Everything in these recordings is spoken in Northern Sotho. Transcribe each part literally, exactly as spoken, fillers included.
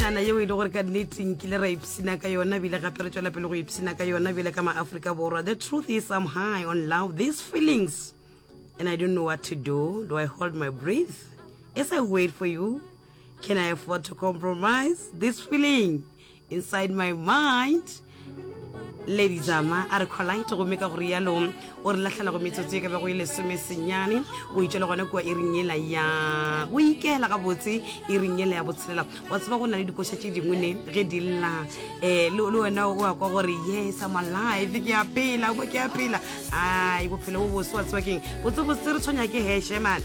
Košana yeo e le gore ka nnete nkile ra ipshina ka yona, bile gape re tšwela pele go ipshina ka yona bile ka maafrika Borwa. The truth is, I'm high on love, these feelings, and I don't know what to do. Do I hold my breath as I wait for you? Can I afford to compromise this feeling inside my mind? Lady Zama a re Collide, gomme ka gore yalo o re lahlela go metsotso e ka bego e lesome senyane o itšwele gona kua iring yela ya go ikela gabotse, iring yela ya botshelela. Wa tseba, go na le dikoša tše dingwe ne ge di lla, um le wena o a kwa gore yes, I'm alive, ke a phela mo, ke a phela. Ai, bophelo bo bose, wa tseba keng, botsebotse re tshwanya ke heshe man.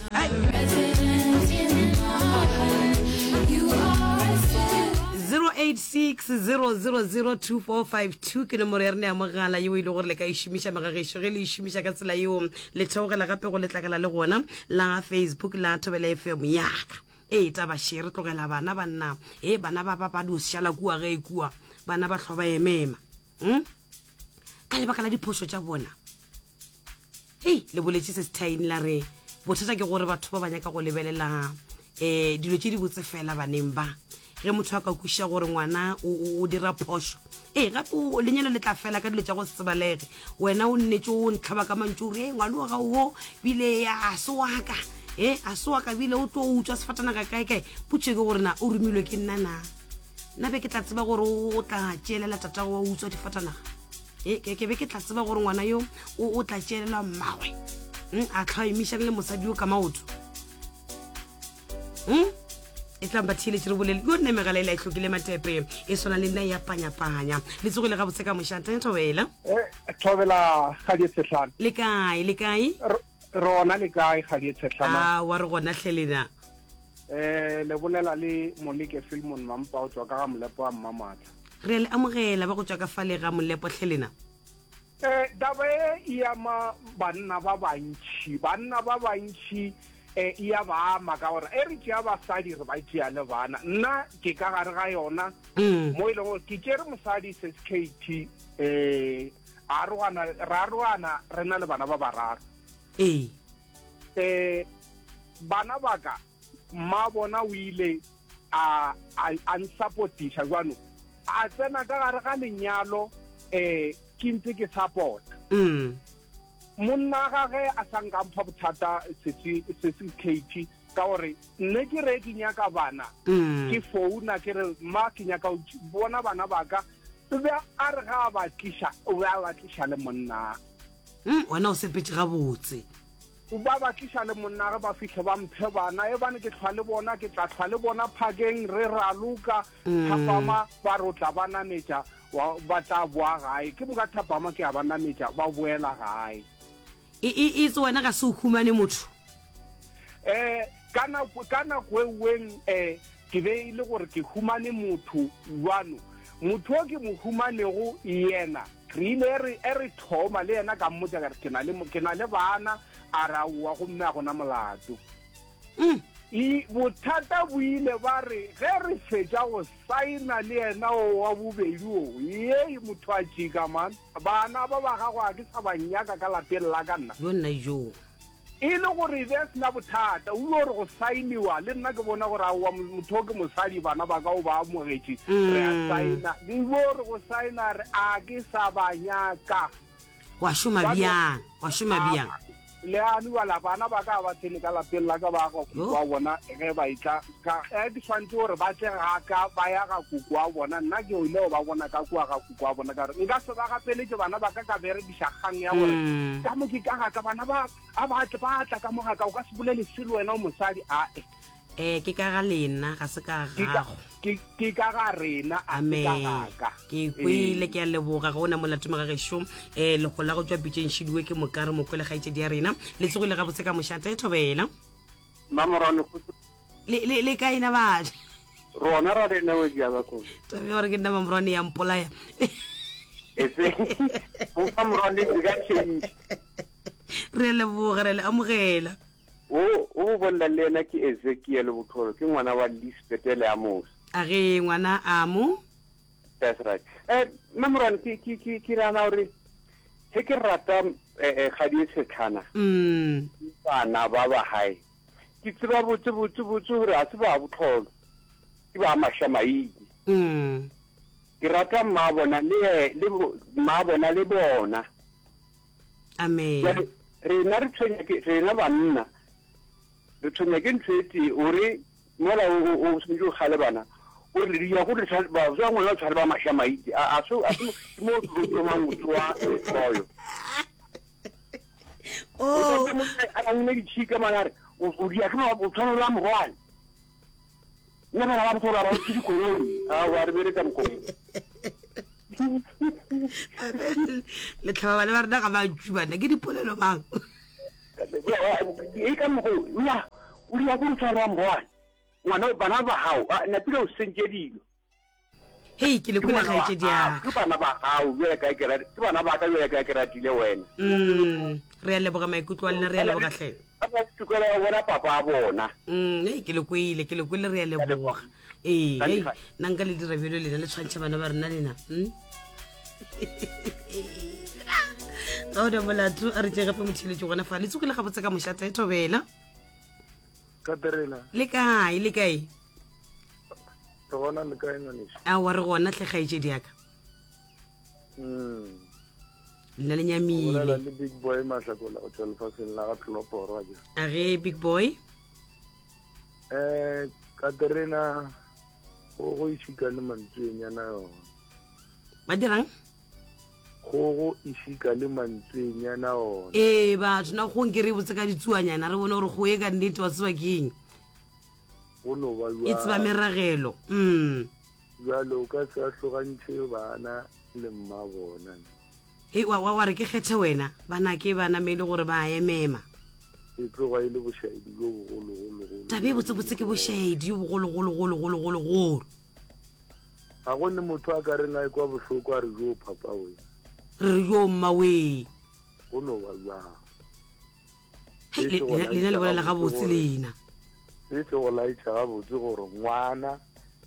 zero eight six zero zero zero two four five two ke nomoro ya rena ya mogala yeo e le gore le ka e šomiša megagešo. Ge le e šomiša ka tsela yeo, le theogela gape go letlakala le gona la Facebook la Thobela F M yaka. Ee, taba še re tlogela bana banna e bana ba ba ba dio šala kua ge e kua bana ba hlwa ba emema, hmm? Ka lebaka la diphošo tša bona. Hei, le boletše se sethaini la re bothata ke gore batho ba ba nyaka go lebelela um dilo tše di botse fela baneng ba. Ge motho a ka kwešiša gore ngwana o o- o dira phošo, ee, gape o- lenyalo le tla fela ka dilo tša go se tsebalege. Wena o nnetse o ntlhaba ka mantšu ore e ngwane wa gago wo bile a se waka, e a se waka, bile o tlo utswa sefatanaga kae-kae. Potso ke gore na o romilwe ke nna? Na nna be ke tla tseba gore o tla tšeelela tatago wa utswa difatanaga? E ke ke be ke tla tseba gore ngwana yo o o tla tšeelelwa mmagwe, Mm, a tlhwa emišane le mosadi yo ka maoto? Mm? E tlang ba theeletše re bolele yo nne megala e la e hlokile matepe e swana le nna ya panyapanya. Le tsogile gabotse ka mošate, Thobela? Eh, Thobela, Kgadi Tshetlana. Le kae, le kae? Rona le kae, Kgadi Tshetlana? A wa re gona hle lena. Eh le bolela le Moleke Filmon Mampa o tswa ka ga Molepo wa Mmamatla. Re le amogela ba go tswa ka fale ga Molepo hle lena. Eh taba e e ama banna ba bantši, banna ba bantši eh e ya ba ama ka gore e re tšea basadi, re ba tšea le bana. Nna ke ka gare ga yona Mm. mo e leng gore ke tšere mosadi S K T, eh arogana, ra arogana re na le bana ba bararo. Ee eh bana ba ka, mma bona o ile a a a nsupportiša jwano, a tsena ka gare ga lenyalo, eh ke ntse ke support Mm. monna gage. A sa nka mpha bothata sese sese K T, ka gore nne ke re ke nyaka bana, Mm. ke founa ke re, "Ma, ke nyaka go bona bana ba ka." O be a re ga a ba tliša, o be a ba tliša le monna. Mm, wena o sepetse gabotse. Ba ba tliša le monna, ge ba fihle ba mphe bana, e bane ke hlwa le bona, ke tla hlwa le bona phakeng re raloka. Mm. Thapama ba re o tla ba nametša, wa- ba tla boa gae. Ke moka thapama ke a ba nametša, ba boela gae. E e itse wena ga se o humane motho. eh ka nako ka nako e weng eh ke be e le gore ke humane motho jwano. Motho o ke mo humanego yena, re ile re e re thoma le yena, ka mmotsa ka re ke na le mo- ke na le bana, a re aowa, gomme a gona molato. Mm. E bothata bo ile ba re ge re fetša go saena le yena o wa bobedi o ye motho a tšika man, bana ba ba gago a ke sa ba nyaka ka lapeng la ka nna. Yo nna jo. E le gore e be a sena bothata, o ile gore go saeniwa le nna, ke bona gore aowa, motho o ke mosadi, bana ba ka o ba amogetše, re a Mm. saena. Ke ile gore go saena, re a ke sa ba nyaka. Wa šoma Ba no- bjang, wa šoma bjang? Le ane bala bana ba ka ba tsene ka lapeng la ka, ba ga koko wa bona. Ge ba etla ka e di tshwanetse gore ba tle ga ka, ba ya ga koko wa bona. Nna ke ile go ba bona ka kua ga koko wa bona, ka gore nka se ba gapeletše bana ba ka, ka berekiša kgang ya gore Mm. ka mo ke ka ga ka, bana ba a ba tle, ba tla ka mo ga ka, o ka se bolele selo wena o mosadi ae. Eh ke ka ga lena, ga se ka Ke ka gago. ke ke ka ga rena, a se ka Amen. ga ka. Ke kwele, ke a leboga. Ga ona molato mogagešo. um legola go tswa pitšeng šidiwe ke mokare mokwele kgaetšedi ya rena. Le tsogile gabotse ka mošate, Thobela? Mamorwane. Le le- le kae na batho? Rona ra rena o dia ba ko. Tabe gore ke nna Mamorwane ya mpolaya. Ese o Mamorwane di ka change. Re a leboga, re le amogela. O o bolela le yena ke Ezekiel Botlholo, ke ngwana wa Lisbeth le Amos. A ge ngwana amo. That's right. Eh Mamorwane, ke ke ke ke rana gore he ke rata eh eh gadi e tshetlhana mm bana ba ba hae. Ke tseba botse botse botse gore a se ba botlholo. Ke ba mashamaile. Mm. Ke rata mma bona le le mma bona le bona. Amen. Jwale rena re tshwenya ke rena banna re tshwenya ke ntho e tee o re mola o o o swanetše o kgale bana o re le ya go re ba ba ngwana o tshware ba mašamaite a a so a so ke mo o thomang go tsoa lehloyo. Oh. A nne ditšhika mana a re o o dia ke o tshwana le morwale. Nna bana ba botho ba ba ke dikoloi a wa re bereka mokgwa. Letlhaba bana ba rena ga ba tšubana ke dipolelo mang. E ka mokgwa ya o dia go tshwara morwale. Ngwana bana ba gago napile o sentše dilo. Hei ke le kwele kgaetšedi ya Ke bana ba gago bjale ka ke ke bana ba ka bjale ka ke ratile wena. Mm, re a leboga maikutlo a lena, re a leboga hle. Ba ba tokelo ya bona papa a bona. Mm, hei ke le kwele, ke le kwele, re a leboga. Ee, hei nna nka le dira bjalo lena le tshwantšha bana ba rena lena. Mm? Ga ona molato a re tše gape motheletši gona fa le tsogile gabotse ka mošate thobela. Katerina. Le kae, le kae? Re gona le kae ngwaneso? Aowa re gona hle kgaetšedi ya ka. Mm. Lena le nyamile. Bolela le Big Boy Mahlakola go tšwa lefaseng la ga Tloloporo a ke. A ge Big Boy? Eh, Katerina go go išika le mantswenyana yona. Ba dirang? Kgogo e šika le mantswenyana ona. Ee batho na go nke re botse ka ditsuanyana re bone gore go e ka nnete wa tseba ke eng. Go no ba E tseba meragelo. Mm. Jwale o ka se ahlogantšhe bana le mma bona. Hei wa, wa, wa re ke kgethe wena bana ke bana me e le gore ba emema. E tloga e le bošaedi bjo bogologologolo. Taba e botsebotse ke bošaedi jo bogologologologologolo. Ga go ne motho a ka reng a ekwa bohloko a re jo papa we. Re re jo mma we. Go no ba jwang. Hei, le, lena le bolela gabotse lena. Se se go laetša gabotse gore ngwana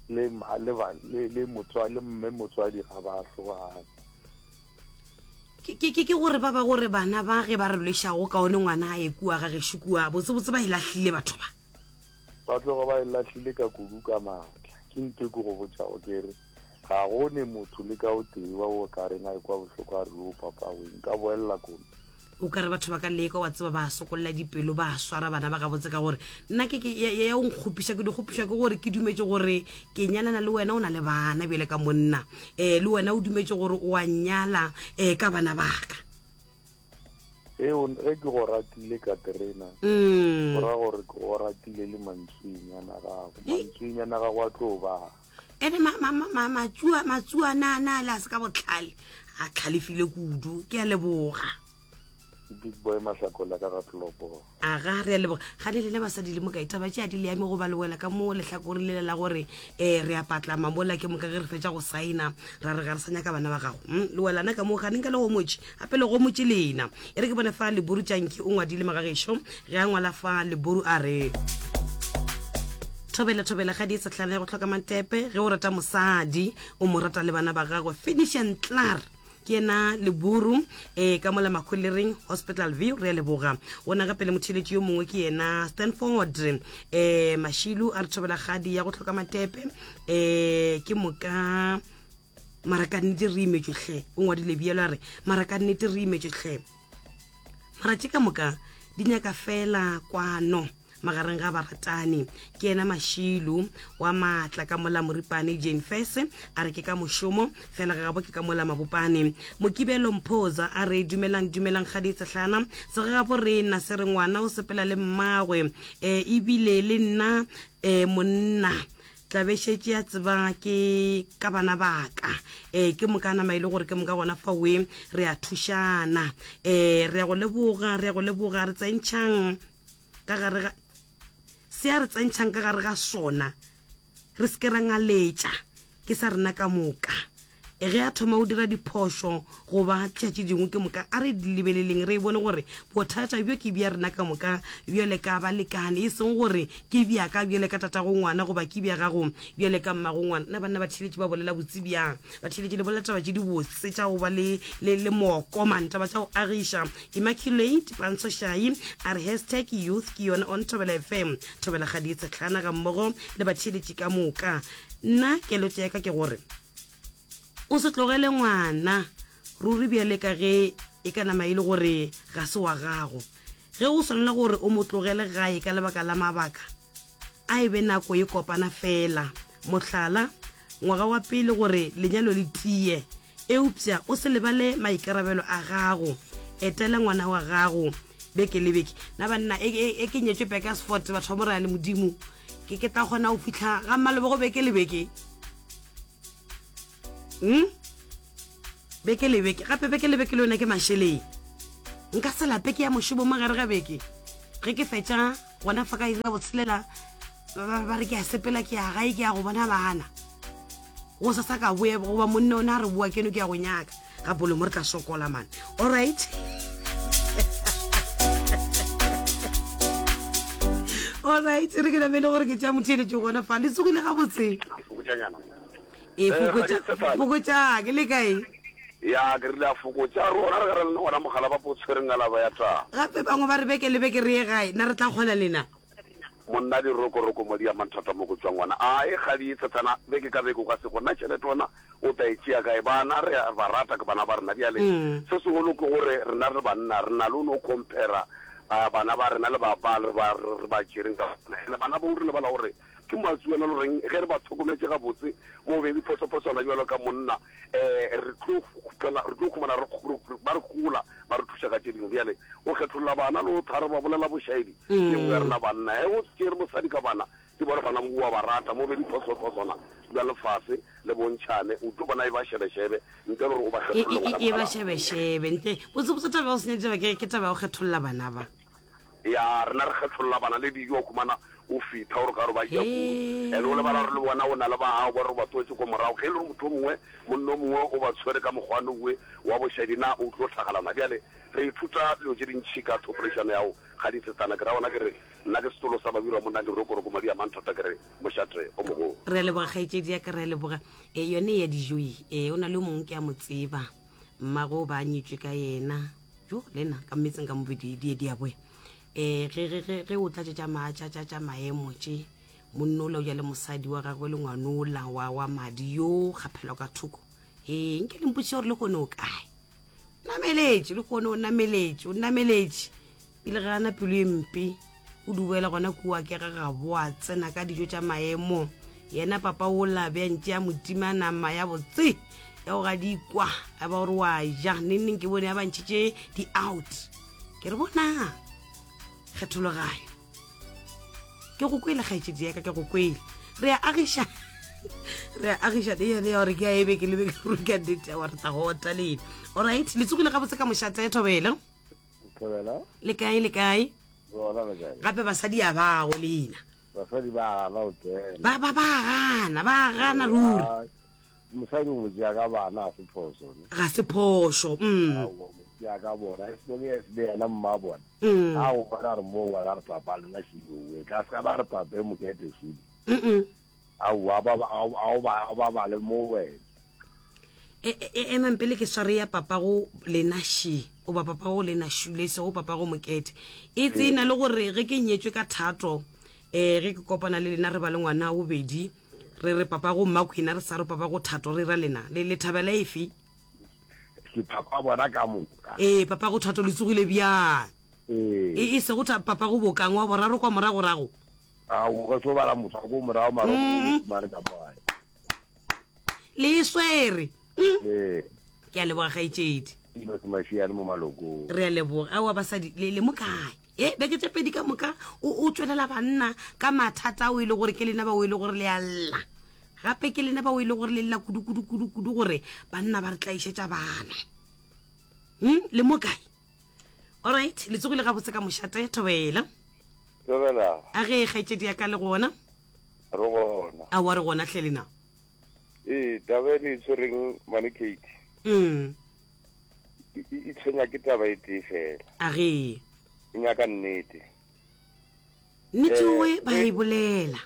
le ma, le ba, le, le motswadi, le mme motswadi ga ba hlogane. Ke, ke, ke, ke gore ba ba gore bana ba ge ba re lwešago kaone ngwana a ye kua ga gešo kua, botsebotse ba e lahlile batho ba. Ba tloga ba e lahlile ka kudu ka maatla. Ke ntho e ke go botšago ke re ga go ne motho le ka o tee wa o ka reng a ekwa bohloko a re o papa we nka boelela kone. O ka re batho ba ka leka wa tseba ba sokolla dipelo ba swara bana ba gabotse ka gore nna ke ke ya, ya o nkgopiša ke di kgopiša ke gore ke dumetše gore ke nyalana le wena o na le bana bjale ka monna, eh, le wena o dumetše gore o a nyala, eh, ka bana ba ka. Ge o, ge ke go ratile Katerina, Mm. go ra gore ke go ratile le mantswenyana gago. Mantswenyana gago a tlo ba. Ene ma, ma, ma, ma, matsua, matsuana a na le a se ka botlhale, a tlhalefile kudu, ke a leboga. Big Boy Mahlakola ka ga Tloloporo. A ga re a leboga. Ga le lena basadi le mokae taba tše a di le ame go ba le wela ka mo lehlakore lela la gore, eh, re a patlama mola ke moka ge re fetša go saena ra re ga re sa nyaka bana ba gago. Mm, le welana ka mo ga nka le gomotše, gape le gomotše lena. E re ke bone fa Leburu Tšanki o ngwadile magagešo, ge a ngwala fa Leburu a re thobela thobela ga di tsehlana ya go hloka matepe, ge o rata mosadi o mo rata le bana ba gagwe. Finish and klaar. Ke yena Leburu, eh, ka mola Makgolereng Hospital View, re a leboga. Ona gape le motheeletši yo mongwe ke yena Stanford, eh, Mashilu a re thobela kgadi ya go hloka matepe, eh, ke moka mara ka nnete re imetšwe hle. O ngwadile bjalo a re mara ka nnete re imetšwe hle. Mara tše ka moka di nyaka fela kwano magareng ga baratani. Ke yena Mashilu wa maatla ka mola Moripane Jane Fese a re ke ka mošomo fela ga gabo ke ka mola Mabopane. Mokibelo Mphoza a re dumelang dumelang kgadi tsehlana, segagabo rena se re ngwana o sepela le mmagwe, eh, ebile le nna, eh, monna tla be šetše a tseba ke ka bana ba ka. Eh, ke moka nama e le gore ke moka gona fa we re a thušana. Eh, re a go leboga, re a go leboga, re tsentšhang ka gare ga se a re tsentšhang ka gare ga sona, re se ke ra ngaletša, ke sa rena ka moka. E ge a thoma go dira diphošo goba tšatši dingwe ke moka a re di lebeleleng, re e bone gore bothata bjo ke bja rena ka moka bjale ka balekane, e seng gore ke bja ka bjale ka tatago ngwana goba ke bja gago bjale ka mmago ngwana. Nna banna ba theeletše ba bolela botse bjang, ba theeletše le bolela taba tše di botse tša go ba le, le, le moko man, taba tša go agiša. Immaculate Pantsho Shai a re hashtag youth ke yona on Thobela F M, Thobela Kgadi Tshetlana ga mmogo le batheeletši ka moka. Nna keletšo ya ka ke gore o se tlogele ngwana ruri bjale ka ge e ka nama e le gore ga se wa gago. Ge o swanela gore o mo tlogele gae ka lebaka la mabaka, a e be nako e kopana feela, mohlala, ngwaga wa pele gore lenyalo le tie. Eupša o se lebale maikarabelo a gago. Etela ngwana wa gago beke le beke. Na banna, e, e, e ke nyetšwe Burgersfort, batho ba Morena le Modimo, ke, ke tla kgona go fihla ga Mmalebogo beke le beke? Hmm? Beke le beke, gape beke le beke le yona ke mašeleng. Nka se lape ke ya mošomo mo gare ga beke. Ge ke fetša gona fa ka iri ya botshelela, ba, ba, ba re ke a sepela ke ya gae ke ya go bona bana. Go sasa ka boya goba monna ona a re boa keno ke ya go nyaka. Gape le mo re tla sokola man. All right. All right, re ke namele gore ke tša motheeletšo gona fa. Le tsogile gabotse? Fokotšanyana. E Eh, fokotša, Kgadi Sefane. fokotša, ke le kae? Ya, ke rile a fokotša rona re gare le gona mogala ba po tshwereng alaba ya taba. Gape bangwe ba re beke le beke re ye gae, na re tla kgona lena? Monna dirokoroko mo di amang thata mo go tšwang gona. A e kgadi e tshetshana beke ka beke o ka se gona tšhelete ona o tla e tšea kae? Bana re a ba rata ke bana ba rena. Bjale se segolo ke gore rena re banna re na le o no compare bana ba rena le ba ba re ba re ba tšereng ka bona. Ene bana bao re lebala gore ke matsuana le goreng ge re ba tlhokometše gabotse mo be diphosophoswana bjalo ka monna um re tlo khupela re tlo khumana re ba re gola ba re thuša ka tše dingwe. Bjale go kgetholla bana le go thare ba bolela bošaedi ke nngwe ya rena banna. Ge o tšere mosadi ka bana ke bona bana o a ba rata mo be diphosophoswana bja lefase le bontšhane o tlo bona e ba šebešebe ntle le gore o ba E, kgetholle e, ngwana e, e ba mogala. šebešebe ntle. Botsebotse taba ya go senya ditaba ke, ke taba ya go kgetholla bana ba. Ya rena re kgetholla bana le dijo o khumana o fitha gore ka re ba ja kudu. Ene o lebala gore le bona o na le ba gago ba re ba tswetse ko morago. Ge e le gore motho o mongwe monna o mongwe o ba tshwere ka mokgwa owe wa bošadi na o tlo tlhagalana. Bjale re ithuta dilo tše dintšhi ka thopolešano ya go ga ditsetsana. Ke ra gona ke re nna ke setolo sa babirwa monna dirokoroko madi a manthata ke re mošate o mogolo. Re a leboga kgaetšedi ya ka, re a leboga. E, yone ya dijo e, e, o na le o mongwe ke a mo tseba, mmago ba nyetšwe ka yena. Jo, le nna ka mmetseng ka mobedi di di a boya. E, ge, ge, ge, ge o tla tše tša ma, tša, tša, tša maemo tše, monna ola o ja le mosadi wa gagwe le ngwanola wa, wa madi yo kgaphelwa ka thoko. E, nke le mpotšiše gore le kgone o kae. Nameletše, le kgone o nameletše, o nameletše. Pele ga ana pelo e mpe, o duela gona kua ke ga gabo a tsena ka dijo tša maemo. Yena papa ola be a ntše a mo tima nama ya botse ya go gadikwa, a ba gore wa ja. Neng neng ke bone a ba ntšhitše di-out. Ke re bona kgethologanyo. Ke go kwele kgaetšedi ya ka, ke go kwele. Re a agiša, re a agiša le yone ya gore ke a ebe ke lebe ke ruri ka nnete ya gore tla go ota lena. Alright, le tsogile gabotse ka mošate Thobela. Thobela. Le kae, le kae? Gona le kae? Gape basadi a bago lena. Basadi ba gana go tsena. Ba, ba, ba gana, ba gana ruri. Mosadi o mo tšea ka bana ga se phoso, ne? Ga se phoso, mm. Aowa, o mo tšea ka bona, e se le le yena mma bona. Mm. A o bona re mo ngwana re papa lena šidi o tla se ka ba re papa e mokete šidi. Mm-mm. Aowa, ba ba, ao ba, ba ba le mo wena. E, e, e, emang pele ke sware ya papa go lena ši, goba papa go lena šule, se go papa go mokete. E tsena le gore ge ke nyetšwe ka thato, eh, ge ke kopana le lena re ba le ngwana wa bobedi, re re papa go mmakhwina, re sa re papa go thato, re ra lena. Le, le thabela efe? Ke papa bona ka moka. Ee, papa go thato le tsogile bjang? Ee. E, e sego tha, papa go bokang wa boraro kwa moragorago. A, o ka tlo bala motho wa ko morago, mara o Mm. fumane ka mo gae. Le e swere. Mm. Ee. Ke a leboga kgaetšedi. Dilo se mašiane mo malokong. Re a leboga. Aowa basadi, le, le mo kae? E, beke tše pedi ka moka, o, o tšwelela banna ka mathata ao e le gore ke lena bao e le gore le a lla. Gape ke lena bao e le gore le lla kudu, kudu, kudu, kudu gore banna ba re tlaišetša bana. Hmm? Le mo kae? Alright, le tsogile gabotse ka mošate, Thobela. Thobela. A ge kgaetšedi ya ka le gona? Re gona. Aowa re gona hle lena. Ee, taba e le e tshwereng mane Kate. Mm. E, e, e tshwenya ke taba e tee fela. A ge. E nyaka nnete. Nnete Eh, owe ba ge e bolela.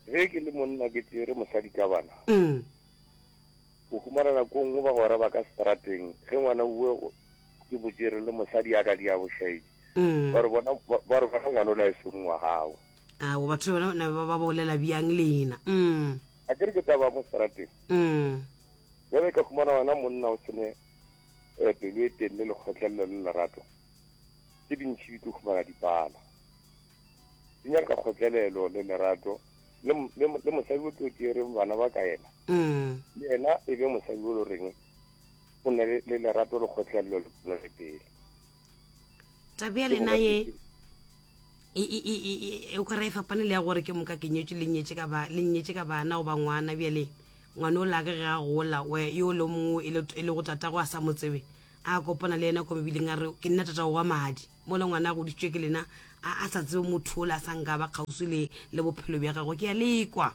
Ge ke le monna ke tšere mosadi ka bana. Mm. O humana nako nngwe bagwera ba ka strateng, ge ngwana owe ke mo tšere le mosadi a ka di a bošaedi. Mm. Ba re bona, ba, ba re bona ngwana o la e seng wa gago. Ao, batho bona ba, ba bolela bjang lena? Mm. A ke re ke taba mo seterateng. Mm. Bjale ka humana wena monna o sene eh, pelo e telele le kgotlelelo le lerato. Tše dintši di tlo humana dipala. Di nyaka kgotlelelo le lerato le le le mosadi o tlo tšereng bana ba ka yena. Mm. Le yena e be mosadi o le reng o na le le lerato le kgotlelelo le le pele. Taba ya lena ye e e e e e o ka re e fapane le ya gore ke moka ke nyetše le nyetše ka ba le nyetše ka bana goba ngwana bjale ngwana o lake ge a gola we yo le mongwe e le e le go tatago a sa mo tsebe a kopana le yena ko mebileng a re ke nna tatago wa madi mola ngwana a godisitšwe ke lena a a sa tsebe motho ola a sa nka ba kgauswi le le bophelo bja gagwe ke a lekwa.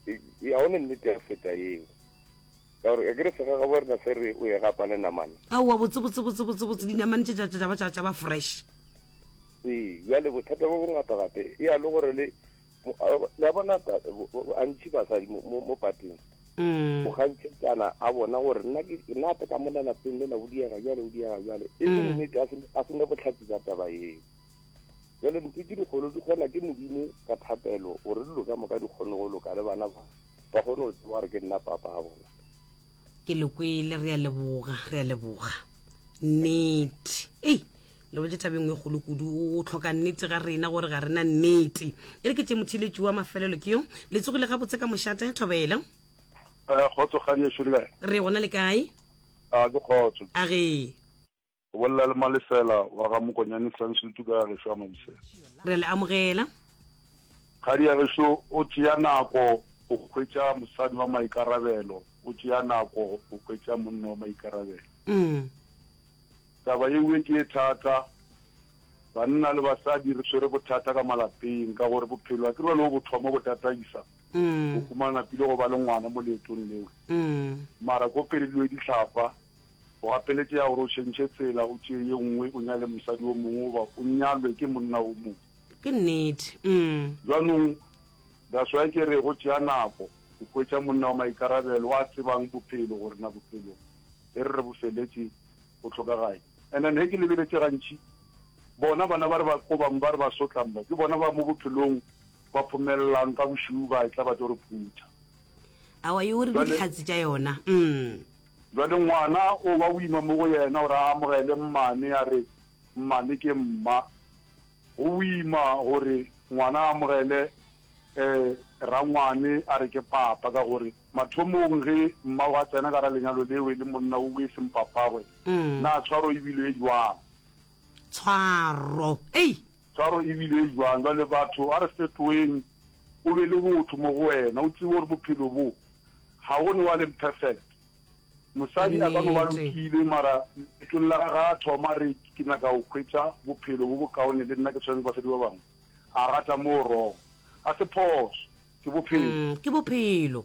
Ga o ne nnete ya go feta yeo. Ka gore a ke re segagabo rena se re o e gapa le namane. Aowa botse botse botse botse botse dinamane tše tša tša ba tša tša ba fresh. Ee, bjale bothata bo bongata gape e ya le gore le le a bona gantši basadi mo mo mo pateng Mm. o gantšhetšana a bona gore nna ke nna gape ka mona lapeng lela o diega bjale o diega bjale e se Mm. nnete a se a se ne bohlatse bja taba eo. Bjale ntho tše dikgolo di kgona ke Modimo ka thapelo gore dilo ka moka di kgone go loka le bana ba ba kgone go tseba gore ke nna papa a bona. Ke le kwele re a leboga re a leboga nnete ei le botse taba e nngwe e kgolo kudu o tlhoka nnete ga rena gore ga rena nnete e re ke tše motheletši wa mafelelo ke yo le tsogile gabotse ka mošate thobela. Eh, kgotso kgadi ešo le kae? Re gona le kae? A ke kgotso. A ge. O bolela le Malefela wa ga Mokonyane Sansutu ka gešo a Mabusela. Re le amogela. Kgadi ya gešo o tšea nako go hwetša mosadi wa maikarabelo, o tšea nako go hwetša monna wa maikarabelo. Mm. Taba yeo ke e thata. Banna le basadi re tshwere bothata ka malapeng ka gore bophelo a ke re le bo thoma bo tataisa. Mm. O humana napile go ba le ngwana mo leetong leo. Mm. Mara ko pele dilo di hlapa, o gapeletšega gore o tšhentšhe tsela, o tšee ye nngwe, o nyale mosadi o mongwe goba o nyalwe ke monna o mongwe. Ke nnete. Mm. Jwanong that's why ke re go tšea nako go hwetša monna wa maikarabelo a tsebang bophelo gore na bophelo e re re bo feletše go hlokagae. And then he ke lebeletše gantši bona bana ba re ba kobang ba re ba sotlang ba ke bona ba mo bophelong ba phomelelang ka bošiu ba tla ba tlo re phutha. Aowa yo re Jwale dihlatse tša yona. Mm. Jwale ngwana o ba boima mo go yena gore a amogele mmane a re mmane ke mma. Go boima gore ngwana a amogele eh rangwane a re ke papa ka gore mathomong ge mma wa tsena ka ra lenyalo leo e le monna o e seng papagwe Mm. na tshwaro e bile e jwang? Tshwaro. Ei. Tshwaro e bile e jwang? Jwale batho a re fetoeng o be le botho mo go wena o tsebe gore bophelo bo ga go ne wa leng perfect. Mosadi a ka no ba Nnete. lokile mara leetong la gagwe a thoma re ke nyaka go hwetša bophelo bo bokaone le nna ke tshwane le basadi ba bangwe a rata mo wrong. A se phoso ke bophelo. Mm, ke bophelo.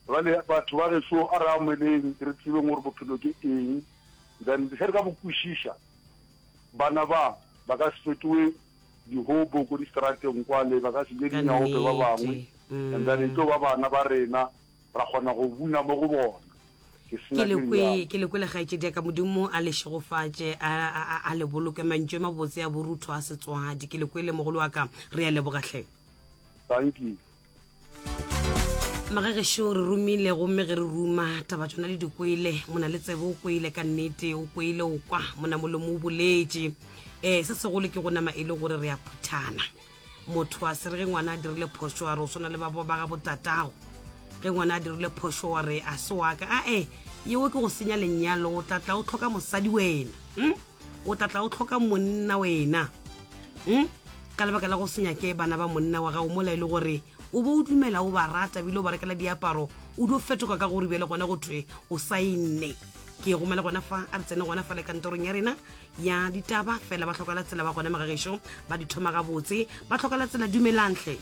Jwale batho ba gešo a re amoheleng re tsebeng gore bophelo ke eng then ge re ka bo kwešiša bana ba ba ka se fetowe dihobo ko distrateng kwale ba ka se je Ka dinyaope ba bangwe nnete. and then e tlo ba bana ba rena ra kgona go buna mo go bona. Ke Ke senya le ke kwe lenyalo. ke le kwele kgaetšedi ya ka Modimo a le šegofatše a a a- a le boloke mantšu a mabotse a borutho a setswadi. Ke le kwele mogolo wa ka re a leboga hle. Thank you. Magagešo re romile gomme ge re ruma taba tšona le di kwele mona le tsebe o kwele ka nnete o kwele o kwa mona molomo o boletše. Eh se segolo ke go nama e le gore re a phuthana. Motho a se re ge ngwana a dirile phošo a re o swana le ba ba ga botatago. Ge ngwana a dirile phošo wa re a se wa ka a e yeo ke go senya lenyalo o tla tla o tlhoka mosadi wena. Mm? O tla tla o tlhoka monna wena. Mm? Ka lebaka la go senya ke bana ba monna wa gago mola e le gore o bo o dumela o ba rata ebile o ba rekela diaparo o dio fetoka ka gore bjale gona go thwe o saenne. Ke gomela gona fa a re tsene gona fa le kantorong ya rena ya ditaba fela ba tlhokala tsela ba gona magagešo ba di thoma gabotse ba tlhokala tsela dumelang hle.